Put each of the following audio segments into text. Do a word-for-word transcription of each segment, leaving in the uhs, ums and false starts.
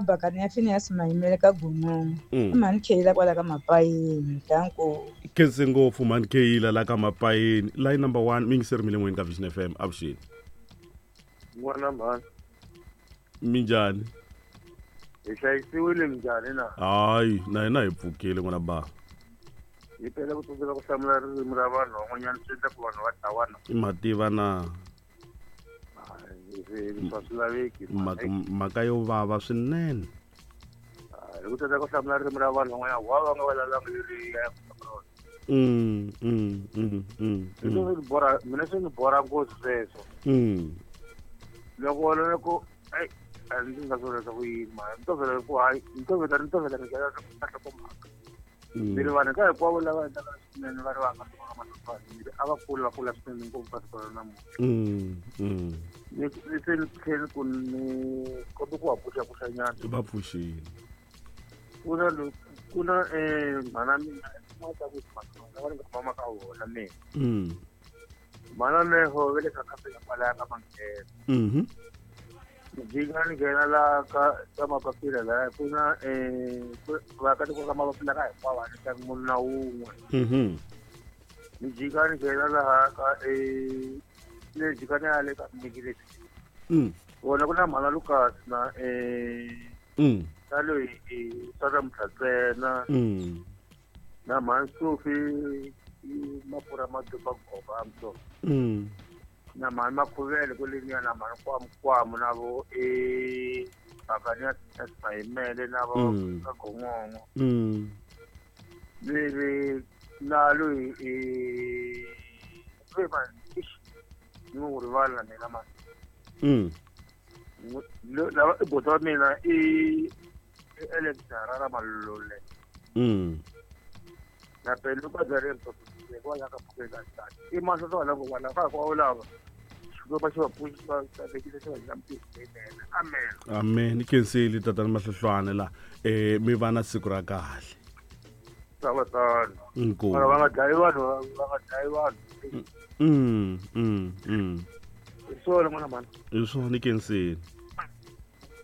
Bakani ya Phineas Mayimele ka Gunungu. Mm. I mhani Kheyila kwala ka Mapayeni. Danko. Khense ngopfu mhani Kheyila la ka Mapayeni. Line number one mi yingiseri mi le moyeni ka Vision F M avuxeni. N'wana mhani. Minjhani? Hi hlayisiwile minjhani na? Hayi, na hina hi pfukile n'wana ba. Hi phela ku tsandzeka ku hlamula ririmi ra vanhu van'wanyana swi endla ku vanhu va dlawana. I mativa na? Leswi a swi laveki. Mhaka, mhaka yo vava swinene. Hi ku tsandzeka ku hlamula ririmi ra vanhu van'wanyana wa va nga vulavulanga leri ya Mm, mm, mm, mm, Hi swi ni borha, mina swi ni borha ngopfu sweswo. Mm. Loko loko ai a ndzi nga swi leswaku yini mara ni tovela ku hayi ni tovela ni tovela ni nghena ka nhlokomhaka. Ni ri vanhu ka hinkwavo lava endlaka swinene va ri va nga ka mahlokwana a va kula va kula swinene ngopfu ka siku ra namuntlha. Mm, mm. Ni ni se ni tlhela ku ni kombe ku va pfuxapfuxanyana. Va pfuxile. Ku na ku na eh mhana mina ma ta ku mhana va nga mama ka wona mina. Mm. Mhana leho ve le ka khampani kwalaya ka Manghena. Mhm. Ni jika ni nghena la ka ka mapapila laya ku na eh vaakatiko ka mapapila ka hinkwavo a ni tlangi munhu na wun'we. Mhm. Ni jika ni nghena laha ka eh le jika ni ya le ka Migileti. Mm. Vona ku na mhana Lucas na eh Mm. na loyi Sara Mtlhatsena. Mm. Na mhani Sophie Mapfura Maduba Goba Mtso. Mm. Na mhani Makhuvele kweleniya na mhani Kwamukwamu na vo e Bakani ya Mayimele na vo Mm. ka Gongongo. Mm. Ni ri na loyi e ve mani ixi ni n'wi rivala na mina mani. Mm. Lava i buti wa mina i i Alex Harara Malole. Mm. Na pele ka byareni kwala ka Phukela i mahlo la ku wala ka kwa lava xikwembu xi va pfuxi va vekisa xi va nyika mpilo leyinene. Amen. Amen. Ni khensile tatana Mahlohlwane la eh mi va na siku ra kahle. Swa tano. Inkomu. Mara va nga dlayi vanhu, va nga dlayi vanhu. Mm, mm, mm. Hi swona n'wana mhani. Hi swona ni khensile.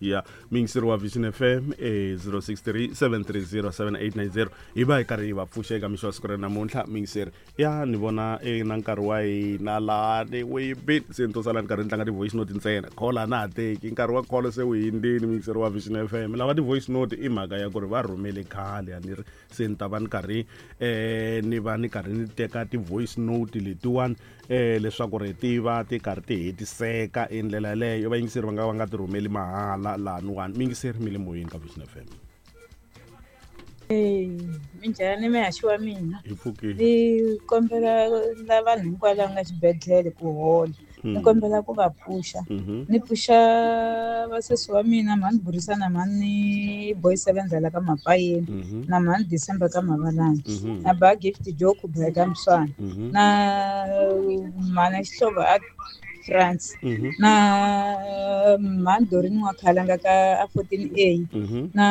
Ya, miyingiseri wa Vision F M eh zero six three seven three zero seven eight nine zero hi va hi karhi hi va pfuxa eka mixo wa siku ra namuntlha miyingiseri ya ni vona eh na nkarhi wa hina lani wu yibini se ni to sala ni karhi ni tlanga ti-voice note ntsena call a na ha teki nkarhi wa call se wu hindzini miyingiseri wa Vision F M lava ti-voice note i mhaka ya ku ri va rhumele khale a ni ri se ni ta va ni karhi eh ni va ni karhi ni teka ti-voice note letiwani eh leswaku ri ti va ti karhi ti hetiseka hi ndlela yaleyo vayingiseri va nga va nga ti rhumeli mahala laniwani miyingiseri mi le moyeni ka Vision F M. Eh, minjhani mihaxi wa mina? Hi pfukile. Ni kombela la vanhu hinkwavo lava nga xibedhlele ku hola. Ni Mm. kombela ku va pfuxa. Mhm. Ni pfuxa vasesi wa mina mhani Burisana mhani Boy Seven la ka Mapayeni Mhm. na mhani December ka Mavalani Mhm. na ba Gift Joe Kubeka ka Mswana Mhm. na mhani Xihlovo a France Mhm. na mhani Doreen wa Khalanga ka a fourteen A Mhm. na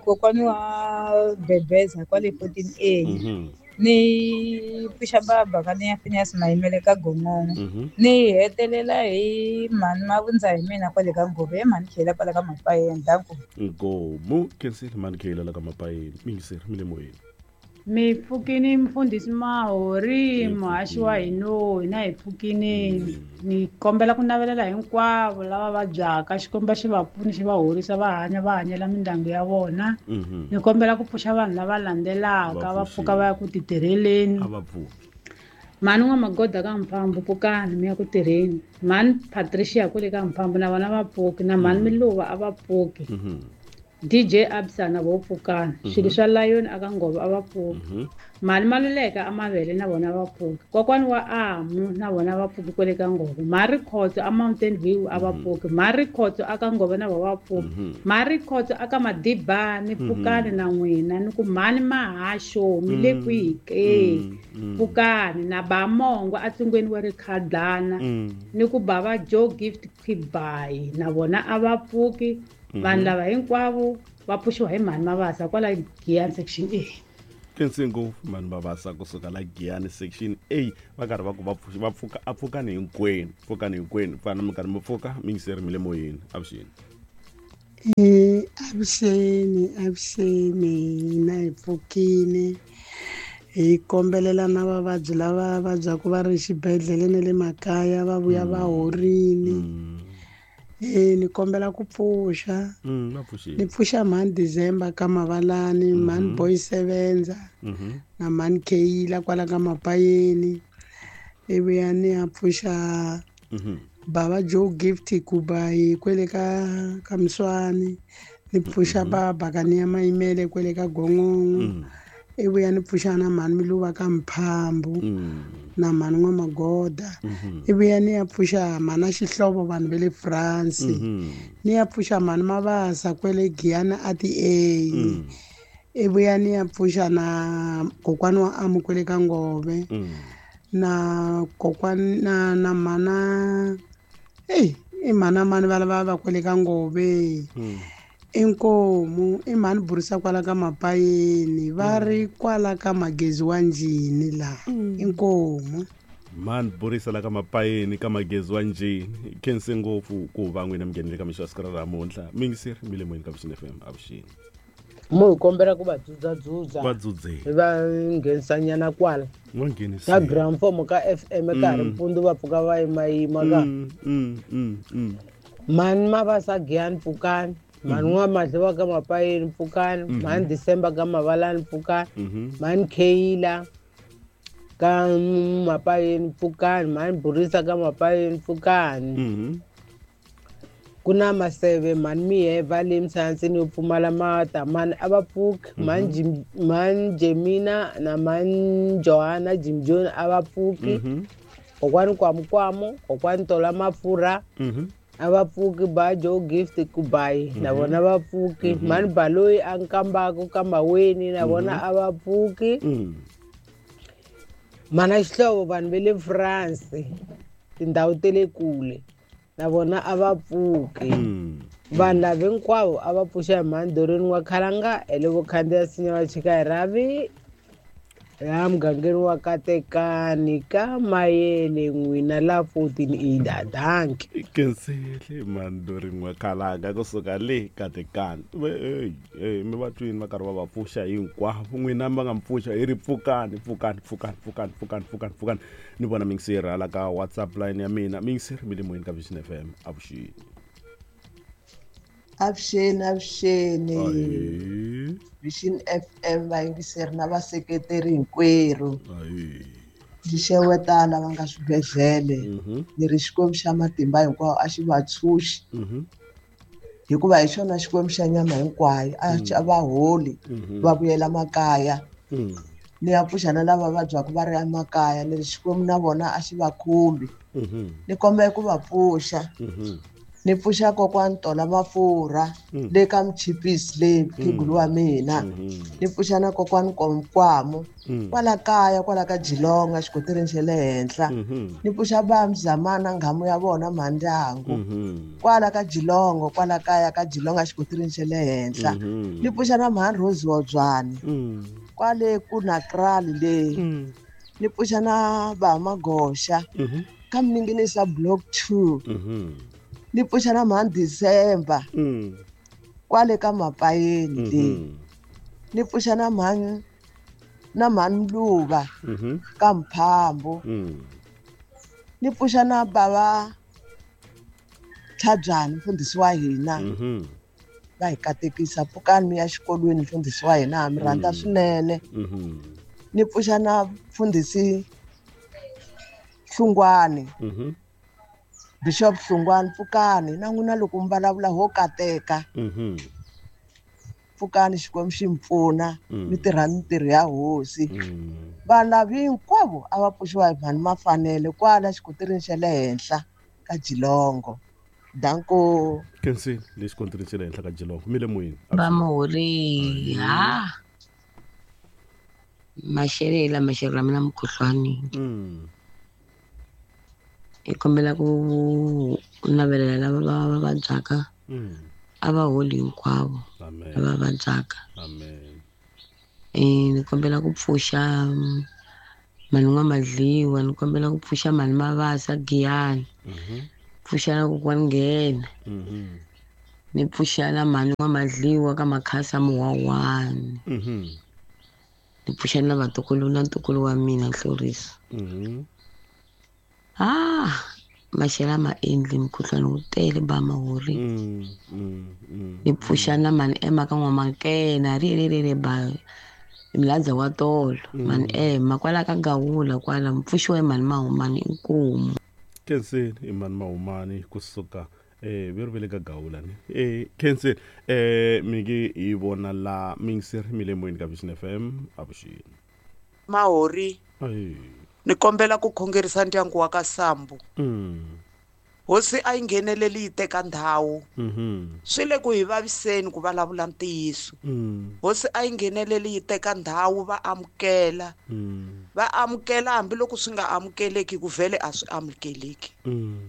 kokwani wa Bebeza kwale fourteen A Mhm. ni pfuxa baba ka ni ya Phineas Mayimele ka Gongongo Mhm. ni hetelela hi mhani Mavundza hi mina kwale ka Ngove hi mhani Khela kwale ka Mapayeni danko. Nkomu khensile mhani Khela la ka Mapayeni miyingiseri mi le moyeni. Mi pfukini mfundhisi Mahori Hi muhaxi wa pfukile. hina hina hi pfukini ni kombela ku navelela hinkwavo lava vabyaka Xikwembu xi va pfuni xi va horisa va hanya va hanyela mindyangu ya vona. Mhm. Ni kombela ku pfuxa vanhu lava landzelaka Va va pfuka pfuxile. va ya ku titirheleni. A va pfuki. Mhani N'wamagoda ka Mphambu pfukani mi ya ku tirheni. Mhani Patricia kwale ka Mphambu na vona va pfuki na mhani Miluva a va pfuki. Mhm. D J Absa na vo pfukani. Swilo swa Lion aka Ngove a va pfuki. Mhm. Mhani Maluleka a Mavele na vona va pfuki. Kokwani wa Amu na vona va pfuki kwale ka Ngove. Mhari Khotso a Mountain View a va pfuki. Mhari Khotso aka Ngove na vona va pfuki. Mhm. Mhari Khotso aka Madibani pfukani na n'wina ni ku mhani Mahaxo mi le kwihi ke? Mm. Pfukani na ba Mongo a tsungweni wa Rikhadlana Mm. ni ku bava Joe Gift Quibai na vona a va pfuki. Vanhu lava hinkwavo va pfuxiwa hi mhani Mabasa kwala Giyani section A. Khensi ngopfu mhani Mabasa kusuka la Giyani section A va karhi va ku va pfuxi va pfuka a pfukani hinkwenu pfukani hinkwenu fana mi karhi mi pfuka mi yingiseri mi le moyeni avuxeni. Eh, avuxeni avuxeni na hi pfukile hi kombelela na vavabyi lava vabyaka va ri xibedhlele na le makaya va vuya va horile. Eh ni kombela ku pfuxa. Mm, va pfuxile. Ni pfuxa mhani December ka Mavalani, mhani Boy Sevenza na mhani Kayila kwala ka Mapayeni. Ivi ya ni ya pfuxa Baba Joe Gift Kubayi kwele ka ka Mswani, ni pfuxa baba ka ni ya Mayimele kwele ka Gongongo. Ivi ya ni pfuxa na mhani Miluva ka Mphambu na mhani N'wamagoda. Ivi ya ni ya pfuxa mhana Xihlovo vanhu va le France. Ni ya pfuxa mhani Mabasa kwele Giyani a ti A. Ivi ya ni ya pfuxa na kokwani wa Amu kwele ka Ngove. Na kokwani na na mana ei i mana mani va lava va kwele ka Ngove. Inkomu i mhani Burisa kwala ka Mapayeni va ri kwala ka Magezi wa Njhini la. Inkomu mhani Burisa la ka Mapayeni ka Magezi wa Njhini. Khense ngopfu ku va n'wina mi nghenile ka mixo ya siku ra namuntlha. Mingiseri mi le moyeni ka Vision F M avuxeni. Mo hi kombela ku va dzudzadzudza. Va dzudzeni. Va nghenisanyana kwala. Va nghenisile. Ka Gramfomo ka F M ka ha ri mpundzu va pfuka va yimayima ka. Mm, mm, mm. Mhani Mabasa Giyani pfukani. Mhani N'wamadliwa ka Mapayeni pfukani. Mhani December ka Mavalani pfukani. Mhani Kayila ka Mapayeni pfukani. Mhani Burisa ka Mapayeni pfukani. Ku na Maseve mhani Miheva le Msansini yo pfumala mata mhani a va pfuki. Mhani mhani Jemina na mhani Johanna Jim John a va pfuki. Kokwani Kwamukwamo, kokwani Tola Mafurha a va pfuki. Ba Joe Gift Kubayi na vona va pfuki. Mhani Baloyi a Nkambako ka Maweni na vona a va pfuki. Mhana Xihlovo vanhu va le France tindhawu ta le kule na vona a va pfuki. Vanhu lava hinkwavo a va pfuxa hi mhani Doreen wa Khalanga hi le vo khandziya sinya va chika hi rhavi laha mugangeni wa Katekani ka Mayele n'wina la fourteen ida. Danki. Kensele mhani Doreen wa Khalanga kusuka le Katekani. Ey mi va twini va karhi va va pfuxa hinkwavo. N'wina mi va nga mi pfuxa hi ri pfukani pfukani pfukani pfukani pfukani pfukani pfukani. Ni vona mingiseri hala ka WhatsApp line ya mina. Mingiseri mi le moyeni ka Vision F M avuxeni. Avuxeni avuxeni. Vision F M vayingiseri na vaseketeri hinkwerhu. Ndzi xeweta lava nga swibedhlele. Ni ri Xikwembu xa matimba hinkwawo a xi va tshunxi. Hikuva hi xona Xikwembu xa nyama hinkwayo a va holi va vuyela makaya. Ni ya pfuxa na lava vabyaka va ri emakaya ni ri Xikwembu na vona a xi va khumbi. Ni kombela ku va pfuxa. Ni pfuxa kokwani Tola Mafurha le ka Mchipisi le phigulu wa mina. Ni pfuxa na kokwani Nkwamo kwala kaya kwala ka Jilonga xikotirini xa le henhla. Ni pfuxa va Mzamana nghamu ya vona mhandyangu kwala ka Jilongo kwala kaya ka Jilonga xikotirini xa le henhla. Ni pfuxa na mhani Rose Wodzwani kwale ku na Krali le. Ni pfuxa na va Magoxa ka Mninginisa block two. Ni pfuxa na mhani December kwale ka Mapayeni le. Ni pfuxa na mhani na mhani Mluva ka Mphambu. Ni pfuxa na baba Tlhabyani mfundhisi wa hina. Va hi katekisa pfukani mi ya xikolweni mfundhisi wa hina mi rhandza swinene. Ni pfuxa na mfundhisi Hlungwani. Bishop Hlungwani pfukani na n'wina loko mi vulavula ho kateka. Pfukani Xikwembu xi mi pfuna mi tirha mintirho ya hosi. Vanhu lava hinkwavo a va pfuxiwa hi mhani Mafanele kwala xikotirini xa le henhla ka Jilongo. Danko. Khensi le xikotirini xa le henhla ka Jilongo mi le moyeni. Va muhori ha maxele maxele mina mukhuhlwani. Hi kombela ku navelela lava va va vabyaka a va holi hinkwavo lava vabyaka. Eh ni kombela ku pfuxa mhani N'wamadliwa, ni kombela ku pfuxa mhani Mabasa Giyani. Pfuxa na kokwani Nghena. Ni pfuxa na mhani wa Madliwa ka Makhasa Muwawani. Mhm. Ni pfuxa na vatukulu na ntukulu wa mina Hloriso. Mhm. Ah, maxela ma endli mukhuhlwani wu tele ba mahori. Mm, mm, mm. Ni pfuxa na mhani Emma ka N'wamankena ri ri ri ri ba mladza wa tolo. Mhani Emma kwala ka Gawula kwala mpfuxiwa hi mhani Mahumani inkomu. Khenseni i mhani Mahumani kusuka eh veri vele ka Gawula ni. Eh Khenseni eh miki hi vona la miyingiseri mi le moyeni ka Vision F M avuxeni. Mahori. Ayi. Ni kombela ku khongerisa ndyangu wa ka Sambu. Mm. Hosi a yi ngheneleli yi teka ndhawu. Mhm. Swi le ku hi vaviseni ku vulavula ntiyiso. Mm. Hosi a yi ngheneleli yi teka ndhawu va amukela. Mm. Va amukela hambiloko swi nga amukeleki ku vhele a swi amukeleki. Mm.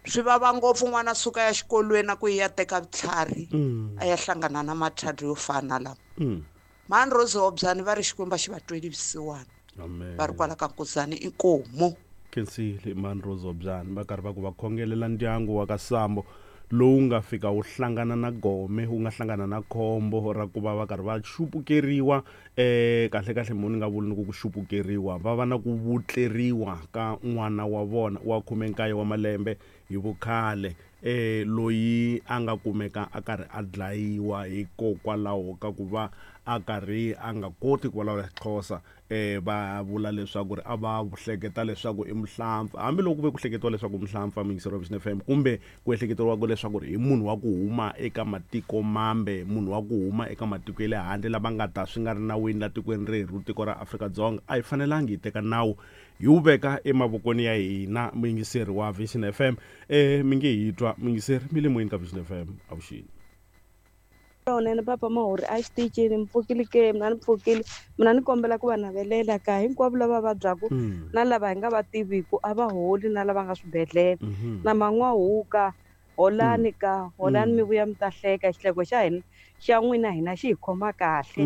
Swi vava ngopfu n'wana suka ya xikolweni na ku ya teka vutlhari. Mm. A ya hlangana na mathadi yo fana lama. Mm. Mhani Rose Hobyani va ri Xikwembu xi va tweli vusiwana. Amen. Va ri kwala ka Nkuzani inkomu. Khensile mhani Rose Hobyani va karhi va ku va khongelela ndyangu wa ka Sambo lowu nga fika wu hlangana na gome wu nga hlangana na khombo ra ku va va karhi va xupukeriwa eh kahle kahle munhu nga vuli ni ku ku xupukeriwa va va na ku vutleriwa ka n'wana wa vona wa khume nkaye wa malembe hi vukhale eh loyi a nga kumeka a karhi a dlayiwa hikokwalaho ka ku va a karhi a nga koti ku vulavula Xhosa eh va vula leswaku ri a va hleketa leswaku i muhlampfa hambiloko ku ve ku hleketiwa leswaku muhlampfa miyingiseri wa Vision F M kumbe ku ehleketeriwa leswaku ri i munhu wa ku huma eka matiko mambe munhu wa ku huma eka matiko ya le handle lava nga ta swi nga ri nawini la tikweni rerhu tiko ra Afrika-Dzonga a hi fanelangi hi teka nawu hi wu veka emavokweni ya hina muyingiseri wa Vision F M eh mi nge hi twa muyingiseri mi le moyeni ka Vision F M avuxeni. Lowunene papa Mahori a xitichini mi pfukile ke mina ni pfukile mina ni kombela ku va navelela ka hinkwavo lava vabyaku na lava hi nga va tiviku a va holi na lava nga swibedhlele na man'wahuka holani ka holani mi vuya mi ta hleka xihleko xa hina xa n'wina hina xi hi khoma kahle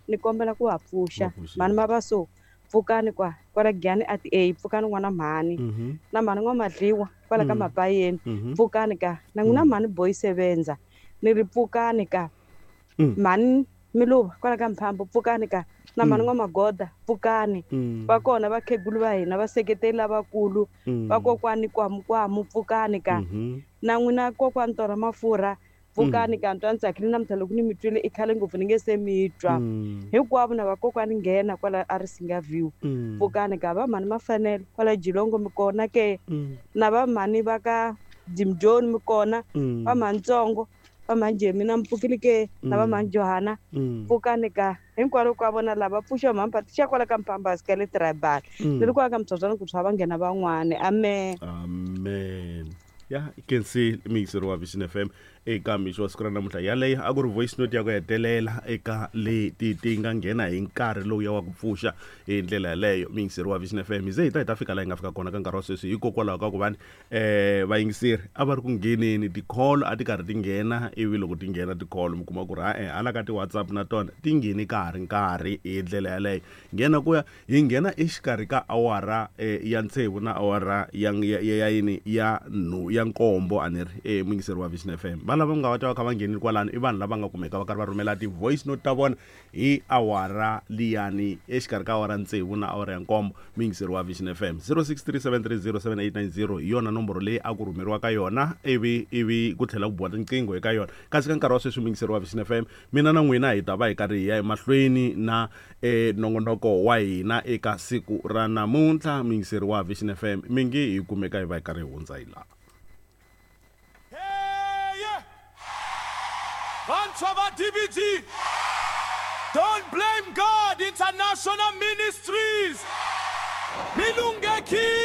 ni kombela ku va pfuxa mhani Mabaso pfukani kwa kwala Giyani a ti a pfukani n'wana mhani na mhani N'wamadliwa kwala ka Mapayeni pfukani ka na n'wina mhani Boy Sebenza ni ri pfukani ka mhani Miluva kwala ka Mphambo pfukani ka na mhani N'wamagoda pfukani va kona vakhegulu va hina vaseketeli lavakulu vakokwani kwamukwamu pfukani ka na n'wina kokwani Tora Mafurha pfukani ka ntwa ni tsakile namuntlha loko ni mi twile i khale ngopfu ni nge se mi twa hinkwavo na vakokwani nghena kwala a ri Singa View pfukani ka va mhani Mafanele kwala Jilongo mi kona ke na va mhani va ka Jimjoni mi kona va mhani Tsongo va mhani Jemina mi pfukile ke na va mhani Johana pfukani ka hinkwavo ka vona lava pfuxa mhani Patricia kwala ka Mpambasi ka le tribal ni ri kwala ka Mtshotshwana ku tshwa va nghena van'wani amen amen. Ya Khensile miyingiseri wa Vision F M eka mixo wa siku ra namuntlha yaleyo a ku ri voice note ya ku hetelela eka leti ti nga nghena hi nkarhi lowu ya wa ku pfuxa hi ndlela yaleyo miyingiseri wa Vision F M hi ze hi ta hi ta fika laha hi nga fika kona ka nkarhi wa sweswi hikokwalaho ka ku vani eh vayingiseri a va ri ku ngheneni ti-call a ti karhi ti nghena ivi loko ti nghena ti-call mi kuma ku ri ha-e hala ka ti-WhatsApp na tona ti ngheni ka ha ri nkarhi hi ndlela yaleyo nghena ku ya hi nghena exikarhi ka awara eh, ya tsevu na awara ya ya ya yini ya nhu ya nkombo a ni ri eh muyingiseri wa Vision F M va lava nga va ta va kha va nghenile kwalano i vanhu lava nga kumeka va karhi va rhumela ti-voice note ta vona hi awara liyani exikarhi ka awara tsevu na awara ya nkombo muyingiseri wa Vision F M zero six three seven three zero seven eight nine zero hi yona nomboro leyi a ku rhumeriwa ka yona ivi ivi ku tlhela ku biwa tinqingho eka yona kasi ka nkarhi wa sweswi muyingiseri wa Vision F M mina na n'wina hi ta va hi karhi hi ya emahlweni na eh nongonoko wa hina eka siku ra namuntlha muyingiseri wa Vision F M mi nge hi kumeka hi va hi karhi hi hundza hi laha. Vantshwa D B G, Don't Blame God International Ministries, Milungeki.